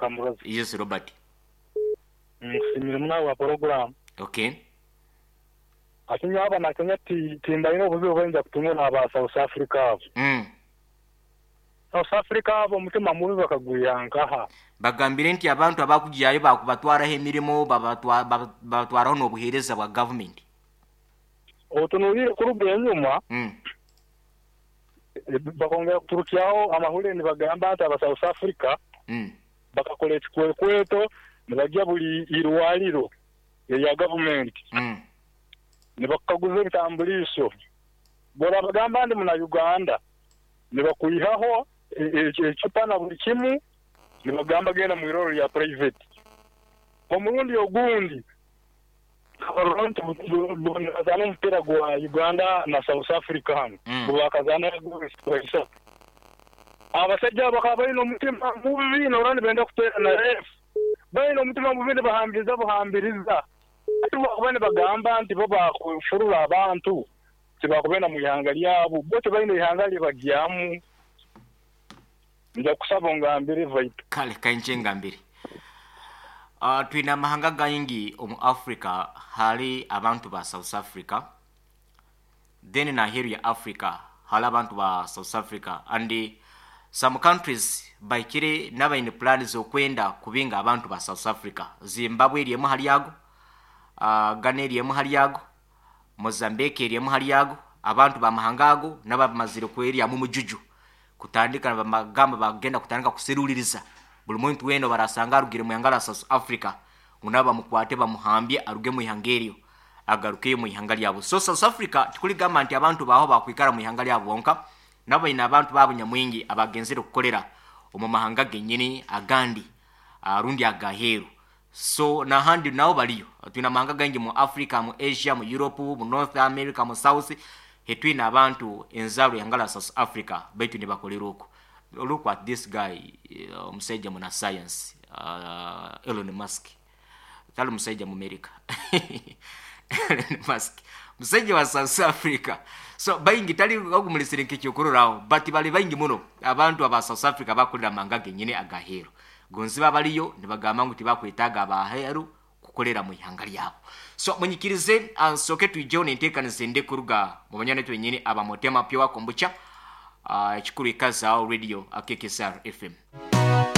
Kamurozi. Yes Robert. Nkusiimire muno ahabwa puroguraamu. Okay. Hati nyowe Abanakenya ti timbaine obuzibu obu kutunga n'aba South Africa abo. South Africa abo omutima mubi bakagwiha nkaha? Bagambire nti abantu abakugyayo bakubatwaraho emirimo babatwaraho n'obuheereza bwa gavumenti. Otunuliire kuruga enyuma, bakongera kuturukyaho amahurire nibagamba nti aba South Africa bakakora ekikwekweto nibagya buri irwariro erya gavumenti nibakukaguza ebitambuliiso. Bworabagamba ndi muna Uganda nibakwihaho ecupa na buri kimu nibagamba genda mwirwariro rya private. Omurundi ogundi Nkabarora nti nibazaana omupiira gwa Uganda na South Africa hanu, ngu baakazaana goolo ishatu. Abashaija abo bakaba baine omutima mubi noorora nibenda kuteera na reefu. Baine omutima mubi nibahambiriza buhambiriza. Hati obu baakuba nibagamba nti bo baakufurura abantu, tibaakubenda mu ihanga ryabo. Bo tibaine ihanga ri baryamu. Nja kukusaba ongambire Viper. Kale kankye ngambire. Twine amahanga gaingi omu Africa hali abantu ba South Africa then naheru ya Africa hali abantu ba South Africa and some countries bahikire nabaine plan zokwenda kubinga abantu ba South Africa. Zimbabwe eri emwe ahari ago, Ghana eri emwe ahari ago, Mozambique eri emwe ahari ago, abantu b'amahanga ago nabo abamazire kweryamu omujuju kutandika nibagamba bagenda kutandika kuseruririza buri muntu weena ou barasanga arugire omu ihanga rya South Africa ngu nabo bamukwate bamuhambye aruge omu ihanga eryo agarukeyo omu ihanga ryabo. So South Africa tikurigamba nti abantu baaho bakwikara omu ihanga ryabo bonka, nabo baine abantu baabo nyamwingi abagenzire kukorera omu mahanga genyini agandi rundi agaheeru. So nahandi nabo bariyo. Twine amahanga gaingi mu Africa, mu Asia, mu Europe, mu North America, mu South, hetwine abantu enzarwa eihanga rya South Africa baitu nibakorera okwo. Look at this guy omusaija muna science Elon Musk tari musaija Mumerika Elon Musk musaija wa South Africa so baingi tari ogu muresire nk'ekyokurorraho but bari baingi muno abantu aba South Africa abakukorera amahanga genyini agaheeru. Gonzi babariyo nibagamba ngu tibakwetaaga ab'aheeru kukorera mu ihanga ryabo. So munyikirize nsooke twijeho n'enteekaniza endi kuruga mu banywani baitu benyini aba Motema Pure Kombucha, ekikuru ikazaaho Radio KKSR FM.